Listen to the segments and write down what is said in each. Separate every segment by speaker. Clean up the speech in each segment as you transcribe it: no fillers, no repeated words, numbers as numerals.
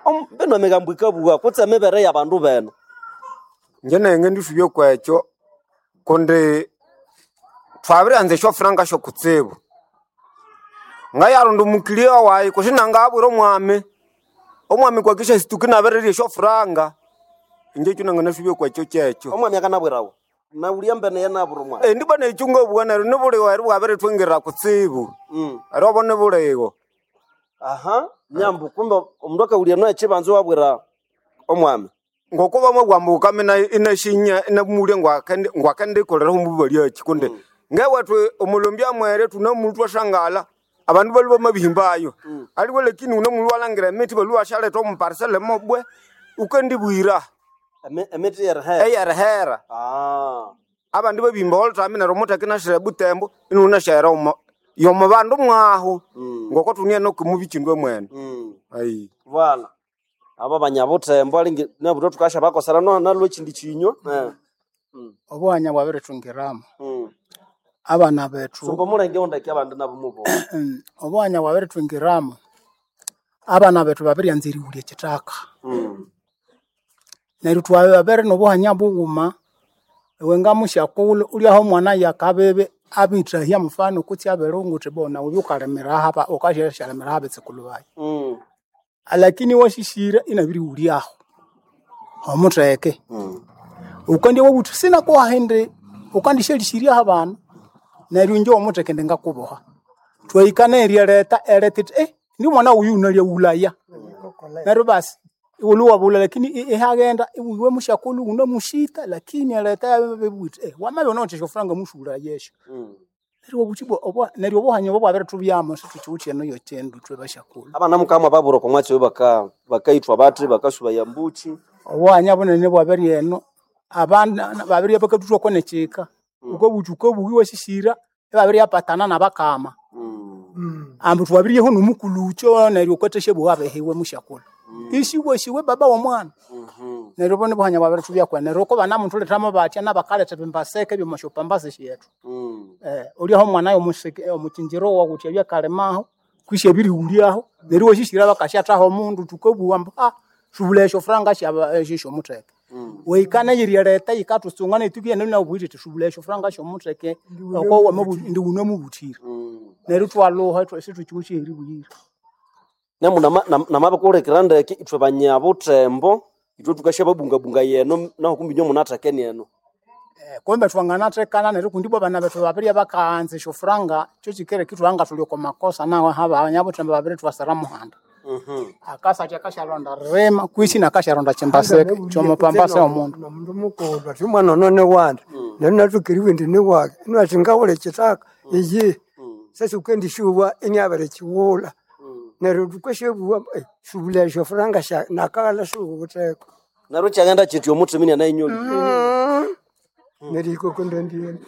Speaker 1: Bino emigambo ĩkabũga kutse emibere y'abandu beno.
Speaker 2: Inje nayi ngendisubya kwekyo kundi thwabirianza esyofuranga syokutsibu. Ngayaronda omukiliya wayi kutse inangayabwira omwami, omwami kwakisya situka inabirirya esyofuranga. Inje ekyo nanganasubya kwekyo kyekyo.
Speaker 1: Omwami akanabwirawa naulya mbene yenabwira omwami.
Speaker 2: Indi bwana ekyo ngabugha neryo nibuligho eri bwabirithwingirira kutsibu. Eri obo nibuligho.
Speaker 1: Aha, nyambu kumbe omundu akawulya no ekibanza wabwira omwami.
Speaker 2: Ngoko bamabugha ambu ghukame inasyinya inamulya ngwakendikoleraho omububalyaki kundi ngewethu omulombi amwere thunamulwa thwasangala abandu balhwe bamabihimbayo. Aliwe lakini wunamulwa walhangira emithi balhwe ibasyaletha omu parcel mobwe wukandibwira.
Speaker 1: Emithi eyerihera.
Speaker 2: Eyerihera. Abandi babihimba olhuthami neryo omutheke inasira ebutembo inunasyahera omo yomo bandu mwahu ngoko thuniene okumubikyindu mwene. Ayi.
Speaker 1: Bwana. Aba banyabuthembo alingi nabutwa thukasya no nalwe ekindi kinywa.
Speaker 3: Obuhanya bwabirithungiramo. Abana bethu
Speaker 1: Sumba omulenge wundeke abandi nabo mubo.
Speaker 3: Obuhanya bwabirithungiramo. Abana bethu babiryanza erighulya ekithaka. Neryo twabere nobuhanya bughuma iwe ngamusyakulhu ulyaho omwana yakabibi abithahya mufano kutse abirunga wuthi bo nawe wubye wukalimira aha wukasyalimira habitsukulhu bayi. Alakini iwasisira inabirighulyaho omutheke. Wukandya wabugha wuthi sinakuha indi wukandisyalhisiryaho abana neryo inje omutheke indi ngakuboha. Twahika neriryaleta ereta yithi indi omwana wuyu wunalyaghulhaya. Neryo basi iwulhwe iwabulha lakini ihaghenda iwe musyakulhu wunamusyita lakini ereta yabibugha yithi wamabya wunawithe esyofuranga musughulhayesyo. Neryo iwabugha wuthi ibwa neryo obuhanya obo bwabirithubyamo sithukiwithe eno yekyindu ithwe basyakulhu.
Speaker 1: Abana mukama babura okwa mwatsi oyo bakayithwa bathi bakasubaya mbuki.
Speaker 3: Obuhanya bunene bwabiri eno abana babiribya bakathuthwako nekyika. Wukabugha wuthi wukabugha iwasisira ibabiryapatana nabakama. Ambu thwabiryeho nomukulhukyo neryo wukathasyabuwa abihiwe musyakulhu. Isiwasi we baba womwana. Neryo obo nibuhanya bwabirithubya neryo oko banamuthulethamo batya nabakaletha ebimbaseke ebyomwasyopambase syethu. Ulyaho omwana omukyinjiro wawu wuthi abye akalimaho kwisi abirighulyaho neryo iwasisira bakasyathaho omundu thukabugha ambu subulha esyofuranga syomutheke. Wahika neyiryaleta yikathusunga nethu nawu yithi subulha esyofuranga syomutheke oko indi wunamubuthira. Neryo ithwalhuha isithukiwithe aheribuyira.
Speaker 1: Namu namabikulekera ndeke ithwe banyabuthembo ithwe thukasyababungabunga yeno naho kumbi inywe munathekene eno.
Speaker 3: Kumbe thwanganathekana neryo kundi ibwa abana bethu babirya bakaanza esyofuranga kyokyikireka ithwabya ngathuli okwa makosa nahu abanyabuthembo babirithwasira muhanda. Akasatya akasyalonda ririma kwisi nakasyalonda kyimbaseke kyomupambase omundu.
Speaker 4: Nomundu mukulhu athi omwana ono niwandi neryo inathoka eribugha indi niwaki inabugha athi ngawulha ekyithaka iyihi sasa wukendisyowa inabirikighulha neryo thukasyabuwa subulha esyofuranga nakaghalha siwuwitheko.
Speaker 1: Neryo kyaghenda kyitya omuthima inanayinyolya.
Speaker 4: Nerihika okwandandigheno.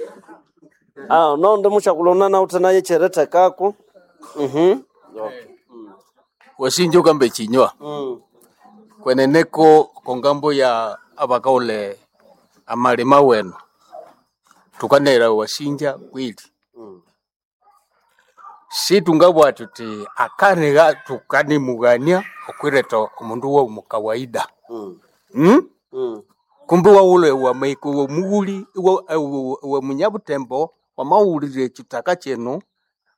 Speaker 1: Nondi musyakulhu nanawithe nayo ekyerithekako.
Speaker 5: Wasinja ukamba ekinywa kweneneko kongambo ya abakaghulha amalima wenu thukanayira wasinja kweli. Situngabugha thuthi akaniha thukanemughania okwiretha omundu womukawaida. Kumbe iwaghulha wamahika omughuli iwe munyabuthembo wamaghulira ekyithaka kino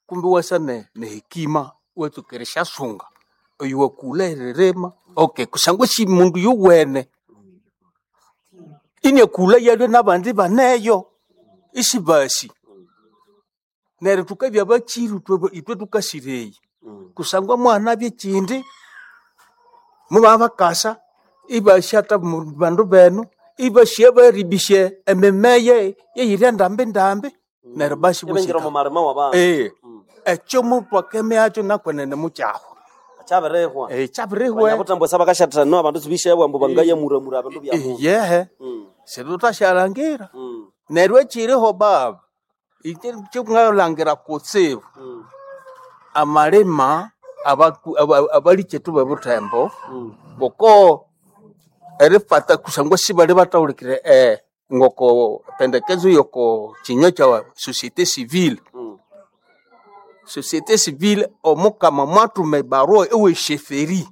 Speaker 5: kumbe iwasa nehekima iwatsuka erisyasunga oyu wakulha eririma okay kusangwa esi mundu yuwene iniakulha yalwe nabandi ibaneyo isibasi. Neryo thukabya bakyiru ithwe thukasira eyi kusangwa muhanabya ekyindi mubabakasa ibasyatha bandu benu ibasya baribisya emimeya eyiri ndambi ndambi neryo basi
Speaker 1: Ibingira omu malima wabandu.
Speaker 5: Ekyo muthwakemiakyo nakwenene mukyahwa.
Speaker 1: Kyabirihwa.
Speaker 5: Kyabirihwa.
Speaker 1: Abanyabuthembo sabakasyathana no abandu sibisyabu ambu bangayamuramura ebindu byabu.
Speaker 5: Iyehe. Situthasyalangira. Neryo ekyiriho baba inje kyongalhangira kutsibu amalima abalikyethu bebuthembo ngoko erifata kusangwa sibali bathahulikire ngoko pendekezo yoko kinywa kya societe civile. Societe civile omukama mwathuma ebarua ewe sheferi.